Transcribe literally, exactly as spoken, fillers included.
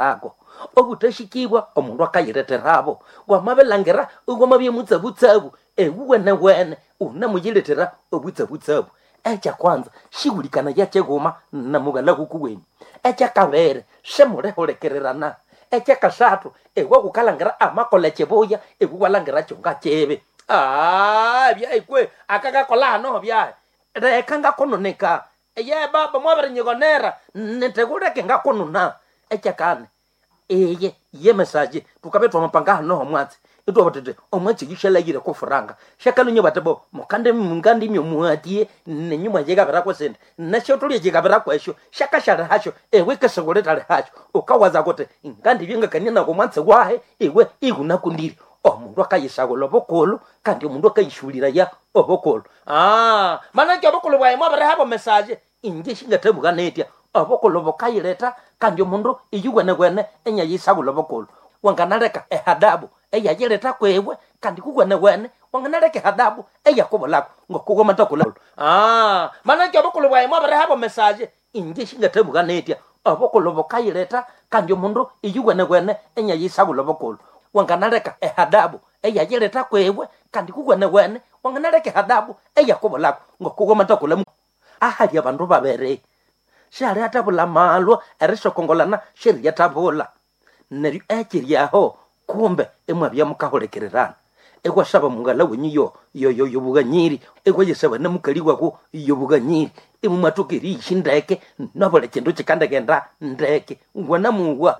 Ako obuthahikibwa omundu akayiletherabo wamabilangira iwamabya mutsabutsabu ewuwenewene unemuyilethera obutsabutsabu. Ekyakwanza sihulikanaya kyighuma namughalha kukuwenyu. Ekyakabiri simulihulikirirana. Ekyakasathu iwe ghukalhangira amakolha ekyibuya iwe iwalhangira kyonga kibi. Aa byayi kwe akakakolha hano byayi leka ngakununika eye baba mwabirinyighonera nindi ghuleke ngakununa. Ekyakani iye yemesaje thukabya twamapanga hano omwatsi ithwabugha thuthi omwatsi oyu syalhaghire okwa furanga syakalhunya bathi bo mukandi mukandimya omughatiye nenyu mwayigabirako esindi nesyotholya yigabirako esyo syakasyalihasyo iwe ikisighulithalihasyo ghukawaza ghuthi ngandibya ngakania naku omwatsi wahi iwe ighunakundire. Omundu akayisaghulha obukulhu kandi omundu akayishuliraya obukulhu. Manake obukulhu bwayi mwabirihabo mesaje inje singathabugha nitya obukulhu bukayiletha kandi omundu iyuwenewene inyayisaghulha obukulhu. Wanganaleka ehadabu eyayiletha kwiwe kandi kuwenewene wanganaleka ehadabu eyakubulako ngokuwamathakolha. Manake obukulhu bwayi mwabirihabo mesaje inje singathabugha nitya obukulhu bukayiletha kandi omundu iyuwenewene inyayisaghulha obukulhu. Wanganaleka ehadabu eyayiletha kwiwe kandi kuwenewene wanganaleka ehadabu eyakubulako ngokuwamathakolha ahali abandu babiri syalihathabulha amalwa erisokongolana syeriyathabulha. Neryo ekyiri aho kumbe imwabya mukahulikirirana iwasaba mughalha wenyu yo- yo- yobughanyiri iwayasaba namukali wawu yobughanyiri imwathoka eriyisya ndeke nabuli kindu kyikandighenda ndeke wanamuwa.